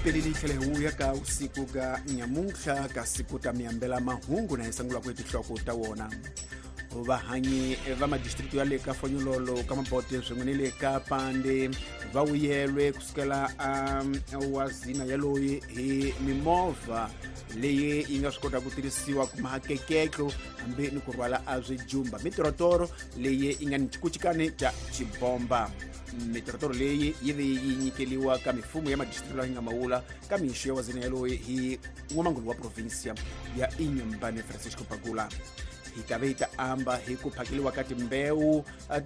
Pelini tlhela hi vuya ka usiku ka nyamuntlha ka siku ta miyambela mahungu na hi sungulaka hi tinhloko ta wona. Vahanyi va madistrikti ya le ka Fonyololo ka Mabote swin'we ni le ka Pande va vuyelwe kusukela a wazina yaloyi hi mimovha leyi yi nga swi kota ku tirhisiwa ku mahakeketlo hambi ni ku rhwala a swijumba, mitorotoro leyi yi nga ni xikucikani xa xibomba. Mitorotoro leyi yi ve yi nyikeliwa ka mifumo ya madistrikti lawa yi nga mawula ka mixo ya wazina yaloyi hi n'wamangulu wa provinsia ya Inhambane, Francisco Pagula. Hi ta ve hi ta amba hi ku phakeliwa ka timbewu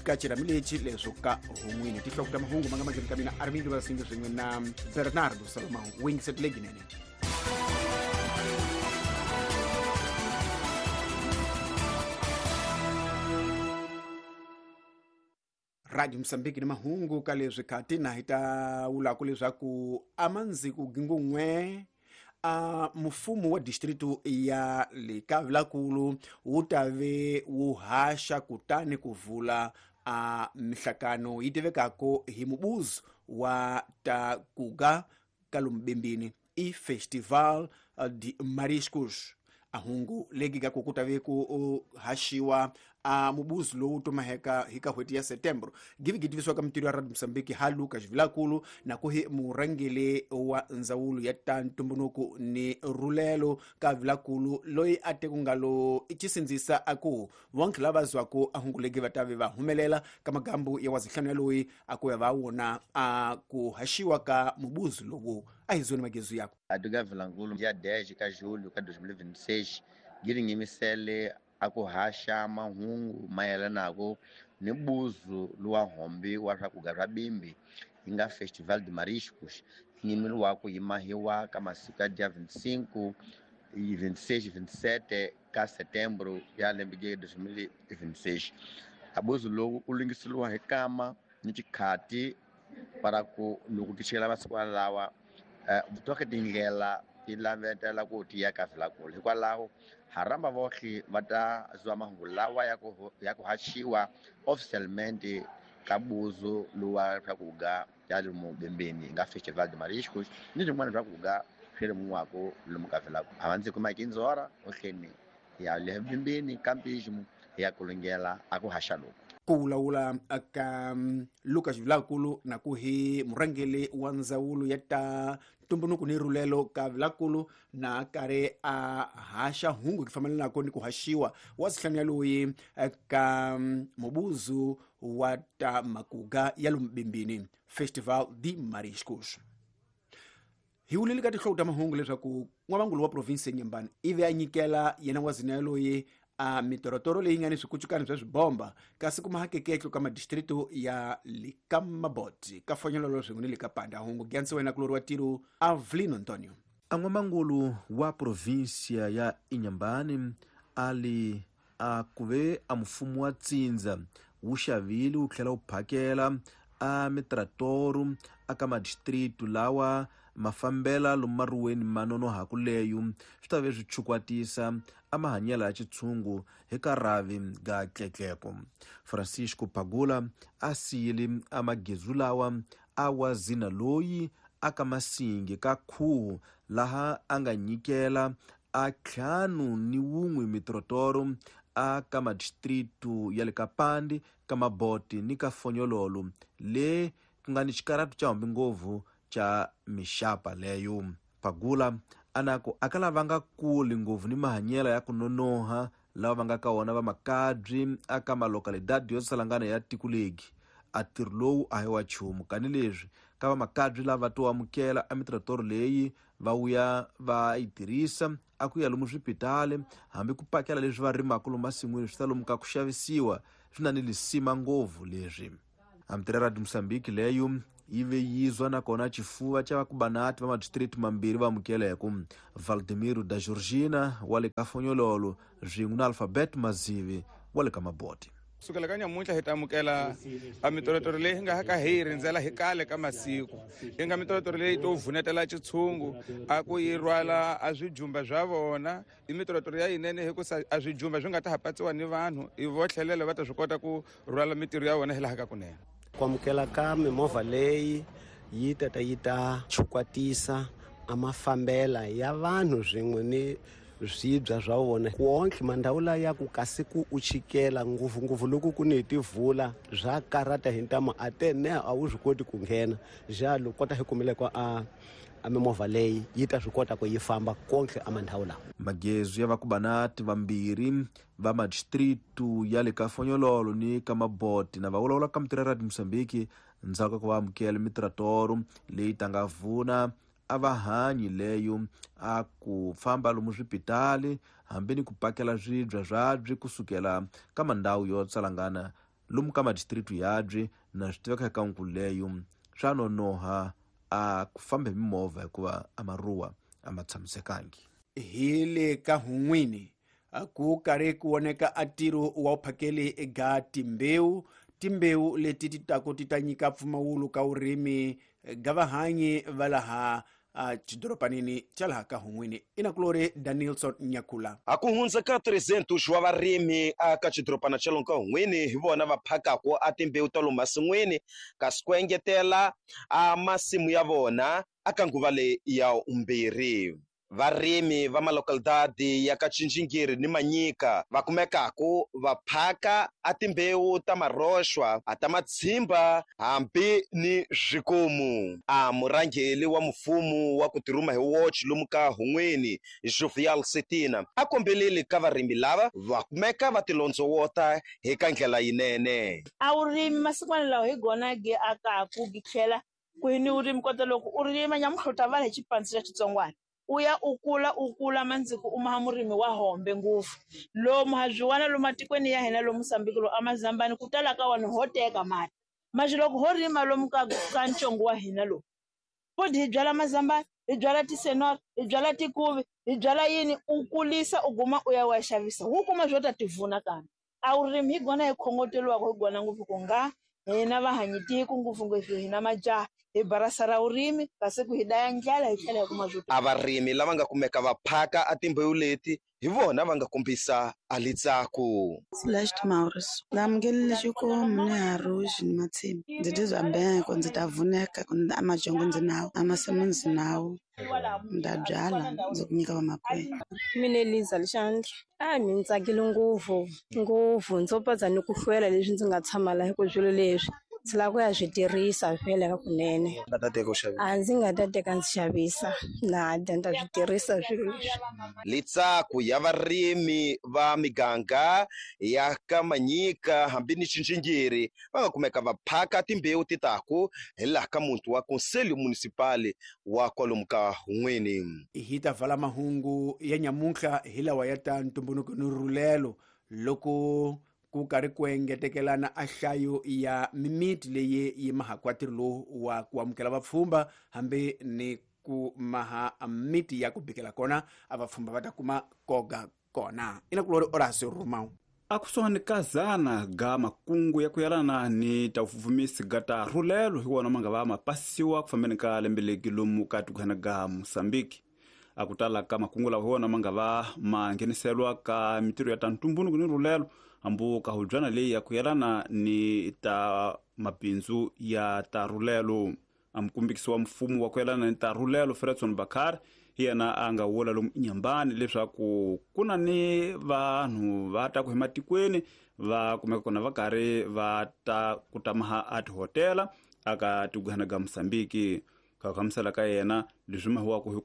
ka xirhami lexi leswo ka hun'wini. Tinhloko ta mahungu ma nga mahlweni ka mina, Armindo Vasingi swin'we na Bernardo Salomão Wingset Leginene. Radio Mosambiki ni mahungu ka leswi khati na hi ta wulaku leswaku amandziku gingun'we a mufumo wa distritu ya le ka Vilakulu wu ta ve wu haxa kutani ku vula a mihlakano yi tivekako hi mubuzo wa ta kuga ka lomubimbini i Festival de Mariscos. A hungu legi ka ku ta ve ku haxiwa a mubuzo lowu tumaheka hi ka n'hweti ya Setembro givi gitivisiwa ka mintirho ya Radio Mosambiki ha Lucas Vilakulu na ku hi murhangeri wa ndzawulo ya ta ntumbuluko ni rhulelo ka Vilakulu loyi a te ku nga lo i xisindzisa a ku vonke lava zwaku a hungu legi va ta ve va humelela ka magambu ya wazihlanu ya loyi a ku ya va wona a ku haxiwa ka mubuzo lowu. A hi zoni magezu yako. Atuka Vilankulu dia 10 ka julho ka 2026 giringimisele a ku haxa mahungu mayelanaku ni buzu luwa hombi wa swakudya swa bimbi yi nga Festival de Mariscos yi ku yimahiwa ka masiku ya dia 25 26 27 ka setembro ya lembe 2026. Abuzu lowu u lungiseliwa hi kama ni xikhati para ku loko ti chela masiku lawa toke tindlela ti lavetela ku ti ya ka Vilakulu. Hikwalaho ha rhamba vohle va ta zwa mahungu lawa ya ku haxiwa oficialmente ka buzu luwa swakudya ya lomu bembeni nga Festival de Mariscos ni swin'wana swakudya swi rimiwaka lomu ka Vilakulu. A va ndzi kuma kinzora ohleni ya le bembeni ka mpismo ya kulungela a ku haxa loku. Ku vulavula ka Lucas Vilakulu na ku hi murhangeri wa ndzawulo ya ta ntumbuluko ni rhulelo ka Vilakulu na karhi a haxa hungu ku fambelanaka ni ku haxiwa wa sihlanu ya loyi ka mubuzu wa ta makuga ya lomubimbini Festival de Mariscos. Hi wulile ka tinhloko ta mahungu leswaku n'wamangulu wa provinsi ya Inhambane ivi a nyikela yena wazina yaloyi a mitorotoro leyi nga ni swikucukani swa swibomba kasi ku mahakeketlo ka madistrito ya le ka Maboti ka Fonyololo swin'we ni le ka Panda. Hungu gyansi wena kulori wa tiro Avlino Antonio. A n'wamangulu wa provinsia ya Inhambane ali a kuve a mfumo wa tsindza wu xavile wu tlhela wu phakela a mitratoro aka madistritu lawa mafambela lomu maruweni ma nonohaku leyo swi ta ve swi chukwatisa a mahanyelo ya xitshungu hi ka rhavi ga tletleko. Francisco Pagula a siyile a magezu lawa a wa zina loyi aka masingi ka khuhu laha a nga nyikela a 51 mitrotoro a ka madistritu ya le ka Pande, ka Maboti ni ka Fonyololo le ku nga ni xikaratu xa hambi ngopfu xa mixapa leyo. Pagula anako a ka lava nga kuli ngopfu ni mahanyelo ya ku nonoha lava va nga ka wona va makabyi aka malokalidadi yo salangana ya tiko legi. A ntirho lowu a hi wa nchumu kani leswi ka va makabyi lava to amukela a mitrotoro leyi va vuya va yi tirhisa a ku ya lomu swipitali hambi ku pakela leswi va rimaka lomu masin'wini swi ta lomu ka ku xavisiwa swi na ni lisima ngopfu leswi. Amtirha Radio Mosambiki leyo yi ve yizwa nakona xifuva xa vakubanati va madistrikti mambirhi va amukeleko Valdemiro da Georgina wa le ka Fonyololo swin'we na Alphabet Mazivi wa le ka Maboti. Sukela ka nyamuntlha hi ta amukela a mitorotoro leyi hi nga ka hi yi rindzela hi kale ka masiku yi nga mitorotoro leyi to vunetela xitshungu a ku yi rhwala a swijumba swa vona. I mitorotoro ya yinene hikusa a swijumba swi nga ta ha patsiwa ni vanhu i vo tlhelela va ta swi kota ku rhwala mitirho ya vona hi laha ka kunene. Ku amukela ka mimovha leyi yi tata yi ta chukwatisa a mafambela ya vanhu swin'we ni swibya swa vona wonke mandhawu laya ku kasi ku u chikela ngopfungopfu loko ku ni tivhula swa karata hi ntamu a te ne a wu swi koti ku nghena jalo kota hi kumile ko a mimovha leyi yi ta swi kota ku yi famba konke a mandhawu lawa. Magezu ya vakubanati vambirhi va madistritu ya le ka Fonyololo ni ka Maboti na va vulavula ka mitirho ya Radio Mozambique ndzhaku ka ku va amukela mitratoro leyi tanga vuna a va hanyi leyo a ku famba lomu swipitali hambi ni ku pakela swibya swabyi kusukela ka mandhawu yo tsalangana lomu ka madistritu yabyi na swi tiveka eka nkulu leyo swa nonoha a ku famba hi mimovha hikuva a maruwa a ma tshamisekangi. Hi le ka hun'wini ku karhi ku voneka a ntirho wa vuphakeli eka timbewu leti ti taku ti ta nyika mpfumawulo ka vurimi ga vahanyi va laha xidorobanini xa laha ka hun'wini. Inakulori Danielson Nyakula. A ku hundza ka 300 wa varimi aka xidorobana xa lomu ka hun'wini hi vona va phakaku a timbewu ta lomu masin'wini kasi ku engetela a masimu ya vona aka nguva leyi ya umbirhi. Varimi va malocalidade ya ka Tjinjingiri ni Manyika va kumekaku va phaka a timbewu ta maroxwa a ta matshimba hambi ni swikomu. A murhangeri wa mfumo wa ku tirhuma hi watch lomu ka hun'wini Jovial Setina a kombelile ka varimi lava va kumeka va tilondzowota hi ka ndlela yinene. A vurimi masikwana lawa hi gona gi akaku gi tlhela ku hi ni vurimi kota loko u rima nyamuhluta vanhu hi xipandzi xa xitsongwana. U ya u kula mandziko u maha murimi wa hombe ngopfu lomu ha byi wana lomu matikweni ya hina lomu Mozambique lomu amazambani ku tala ka vanhu ho teka mati manje loko ho rima lomu ka ntsongo wa hina lowu futhi hi byala mazambani hi byala tisenora hi byala tikuvi hi byala yini u kulisa u guma u ya wa xavisa wu kuma swo ta tivuna kambe a vurimi hi gona hi khongoteliwaka hi gona ngopfu ku nga hina vahanyi tiko ngopfungopfu hina majaha hi barasa ra vurimi kasi ku hi daya ndlala hi tlhela hi kuma swo A varimi lava nga kumeka va phaka a timbewu leti hi vona va nga kombisa a litsaku. Celeste Maurice. Ndzi amukelile xikomu ni haruxi ni matshimba. Ndzi tizwa beko ndzi ta vuneka a majongo ndzi nawo a masimu ndzi nawo ndzi ta byala ndzi ku nyika vamakwenu. Mina Eliza Alexandre. A mi tsakile ngopfu ngopfu ndzo patsa ni ku hlwela leswi ndzi nga tshama laha ku swilo leswi ndzi lava ku ya swi tirhisa vhele ka kunene. Nga ta teka u xavisa? A ndzi nga ta teka ndzi xavisa na dya ndzi ta swi tirhisa swilo leswi. Litsaku ya varimi va miganga ya ka Manyika hambi ni Tjinjingiri va nga kumeka va phaka timbewu ti taku hi laha ka muti wa Conselho Municipal wa kwalomu ka Hun'wini. Hi ta vala mahungu ya nyamuntlha hi lawa ya ta ntumbuluko ni rhulelo loko ku karhi ku engetekelana a nhlayo ya mimiti leyi yi mahaka ntirho lowu wa ku amukela vapfhumba hambi ni ku maha miti ya ku bikela kona a vapfhumba va ta kuma koga kona. Inakulori Horacio Romão. Akusuhani ka zana ga makungu ya ku yalana ni ta vufumisi ga ta rhulelo hi wona ma nga va ma pasiwa ku fambeni ka lembe legi lomu ka tikwana ga Mozambique. A ku tala ka makungu lawa hi wona ma nga va ma ngheniselwa ka mitirho ya ta ntumbuluko ni rhulelo hambu ka hubyana leyi ya ku yalana ni ta mabindzu ya ta rhulelo. A mukumbikisi wa mfumo wa ku yalana ni ta rhulelo Fredson Bakar hi yena a nga vula lomu Inhambane leswaku ku na ni vanhu va ta ku hi matikweni va kumeka kona va karhi va ta ku tamaha a tihotela aka tikwana ga Mozambique. Ka ku hlamusela ka yena leswi mahiwaka hi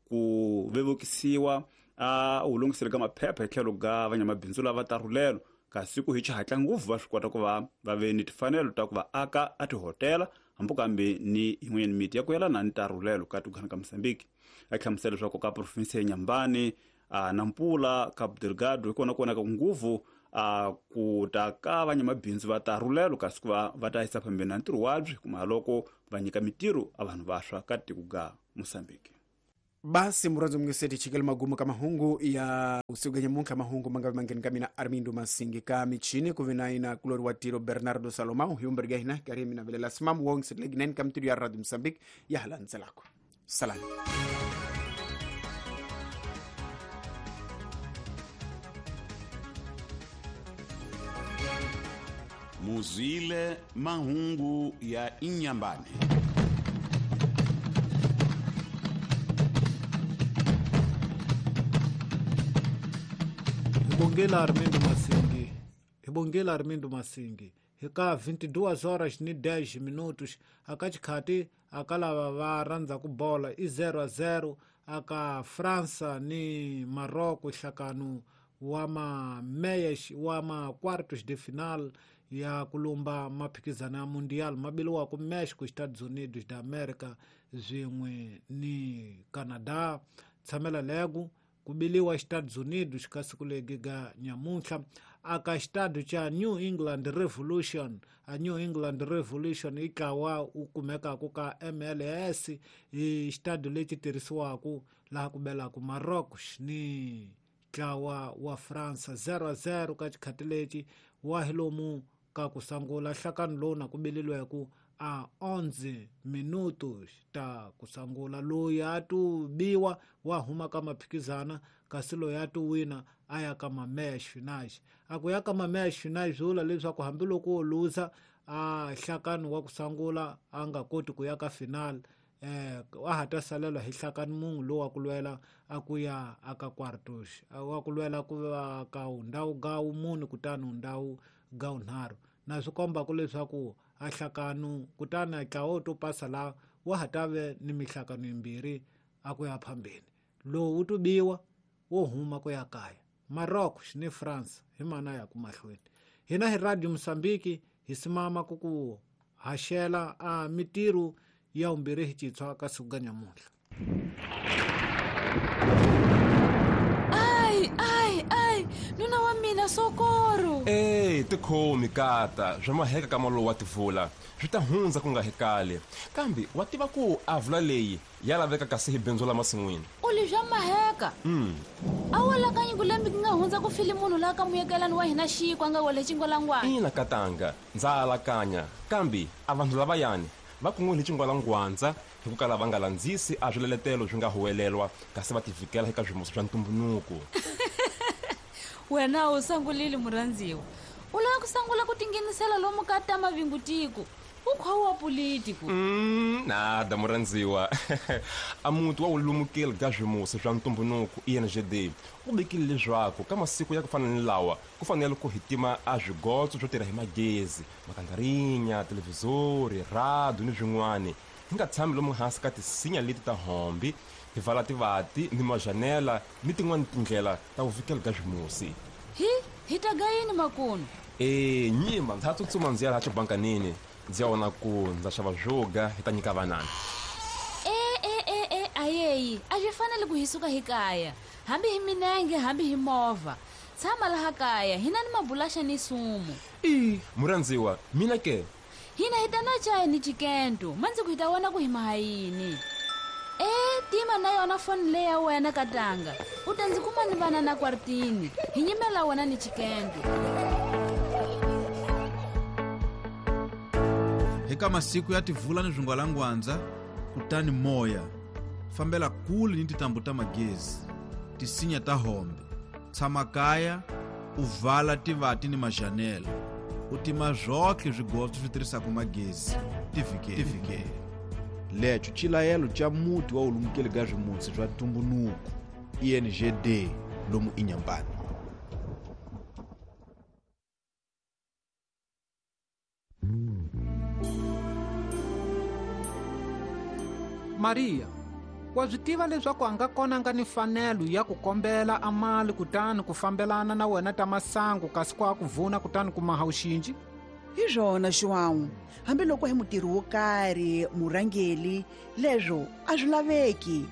ku vevukisiwa a wu lunghisele ka maphepha hi tlhelo ga vanyamabindzu lava ta rhulelo kasi ku hi xihatla ngopfu va swi kota ku va ve ni timfanelo ta ku va aka a tihotela hambi kambe ni yin'wanyana miti ya ku yelana ni ta rhulelo ka tikwana ka Mozambique. A hlamusela leswaku ka province ya Inhambane Nampula Cabo Delgado hi kona ku vonaka ngopfu a ku ta ka vanyamabindzu va ta rhulelo kasi ku va ta yisa phambeni na ntirho wabyi kuma loko va nyika mitirho a vanhu vantshwa ka tiko ga Mozambique. Basi muradzo mngeseti chikele magumu ka mahungu ya usiku nyamuntlha mahungu mangavi mangeni ka mina Armindo Masingi ka michini kuve na ina kulori wa tiro Bernardo Salomão hiumberga hina kari mina velela simam wong setlegi ka mtiro ya Radio Mozambique ya halandzelako. Salani. Muzile mahungu ya Inhambane. Bongela Armindo Masingi. Hi Armindo Masingi. Hika 22 horas ni 10 minutos akachikhati akalava va rhandza ku bola i 0-0 aka Fransa ni Marocco hlakano wa ma meias wa ma quartos de final ya kulumba maphikizano ya Mundial mabiliwa ku Mexico, Estados Unidos da America swin'we ni Canada. Tshamela lego kubiliwa Estados Unidos ka siku legi ga nyamuntlha aka xitado cha New England Revolution. A New England Revolution i ntlawa wu kumekaka ka MLS, i xitado lexi tirhisiwaka laha ku belaka Marocco ni ntlawa wa France 0-0 ka xikhati lexi wa hi lomu ka ku sangula nhlakano lowu na ku bililweku a 11 minutos ta ku sangula. Loyi a tu biwa wa huma ka maphikizana, kasi loyi a tu wina a ya ka ma-match finals. A ku ya ka ma-match finals swi vula leswaku hambiloko wo luza a nhlakano wa ku sangula a nga koti ku ya ka final, a ha ta salela hi nhlakano munhu lowu wa ku lwela a ku ya aka quartos, wa ku lwela ku va ka ndhawu ga mune kutani ndhawu ga nharhu. Na swi kombaka leswaku a nhlakano kutani a ntlawa wo to pasa la wa ha ta ve ni mihlakano yimbirhi a ku ya phambeni. Lowu wu to biwa wo huma ku ya kaya. Marocco ni France hi mana ya ku mahlweni. Hina hi Radio Mozambique hi simama ku ku haxela a mitirho ya vumbirhi hi citshwa ka siku ga nyamuntlha. Ai ai ai, nuna wa mina socorro. Ey, tikhomi kata swa maheka ka malo wa tivula swi ta hundza ku nga hekale, kambe wa tiva ku a vula leyi ya laveka kasi hi bindzu la masin'wini. U li swa maheka? A wa lakanyi ku lembe ku nga hundza ku file munhu laha ka muyekelani wa hina xiko a nga wele xingwalangwana. Ina katanga, ndza alakanya, kambe a vanhu lavayani va kun'wile xingwalangwandza hi ku kala va nga landzisi a swileletelo swi nga huwelelwa kasi va tivikela eka swimusi swa ntumbunuko. Wena u sangulile murhandziwa, u lava ku sangula ku tinghenisela lomu ka ta mavingutiko u khowa politiko. Nada murhandziwa. A muti wa wulumukeli ka swimusi swa ntumbunuko INGD u vekile leswaku ka masiku ya ku fana ni lawa ku fanele ku hitima a swigotso swo tirha hi magezi, makangarinya, televhizori, radio ni swin'wani. Hi nga tshami lomu hansi ka tisinya leti ta hombi, hi vala tivati ni majanela ni tin'wani tindlela ta ku vikela ka swimusi. Hi ta ga yini makunu? Nyima ndza tsutsuma ndzi ya laha xibankanini ndzi ya vona ku ndza xava swo ga hi ta nyika vanana. Ayeyi a swi fanele ku hi suka hi kaya, hambi hi minenge hambi hi movha. Tshama laha kaya hina ni mabulaxa ni sumu. I murhandziwa mina ke hina hi ta na chaya ni chikento mandzi ku hi ta vona ku hi maha yini. Tima na yona foni leyi ya wena katanga, u ta ndzi kuma ni vana na kwartini hi nyimela wena ni chikento. Eka masiku ya tivula ni swingwalangwandza kutani moya fambela kule ni tintambu ta magezi, tisinya ta hombe, tshama kaya u vala tivati ni majanela, u tima zwotlhe swigotso swi tirhisaka magezi, tivikele. Lecho xilayelo xa muti wa wulumukeli ka swimusi swa ntumbunuko INGD lomu Inhambane. Maria, wa swi tiva leswaku a nga kona nga ni fanelo ya ku kombela a mali kutani ku fambelana na wena ta masangu kasi ku a ku vuna kutani ku maha uxinji? Hi swona João, hambiloko hi mutirhi wo karhi murhangeli, leswo a swi laveki.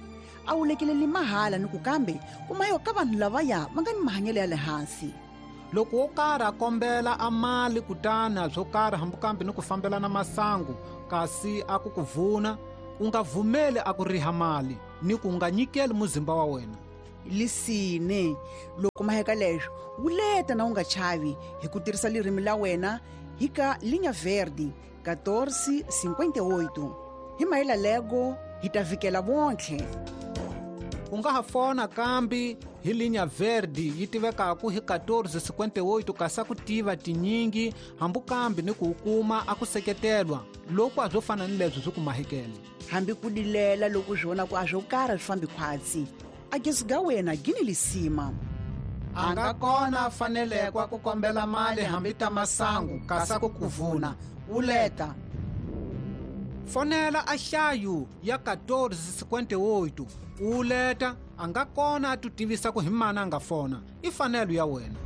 A wu lekeleli mahala ni ku kambe kuma yo ka vanhu lavaya va nga ni mahanyelo ya le hansi. Loko wo karhi a kombela a mali kutani a swo karhi hambi kambe ni ku fambelana masangu kasi a ku ku vuna, u nga vumeli a ku riha mali ni ku nga nyikeli muzimba wa wena. Lisine, loko maheka leswo wuleta na u nga chavi hi ku tirhisa lirimi la wena hi ka Linha Verde 1458. Hi mahela lego hi ta vikela vontlhe. U nga ha fona kambi hi Linha Verde yi tivekaku hi 1458 kasi a ku tiva tinyingi hambi kambi ni ku kuma a ku seketelwa loko a swo fana ni leswi swi ku mahekele. Hambi ku dilela loko swi vona ku a swo karhi swi fambi khwatsi, a gezi ga wena gini lisima. A nga kona a fanelekwa ku kombela mali hambi ta masangu kasa ku kuvuna uleta. Fonela a xayu ya 1458 uleta, a nga kona a tu tivisa ku hi mana a nga fona. I fanelo ya wena.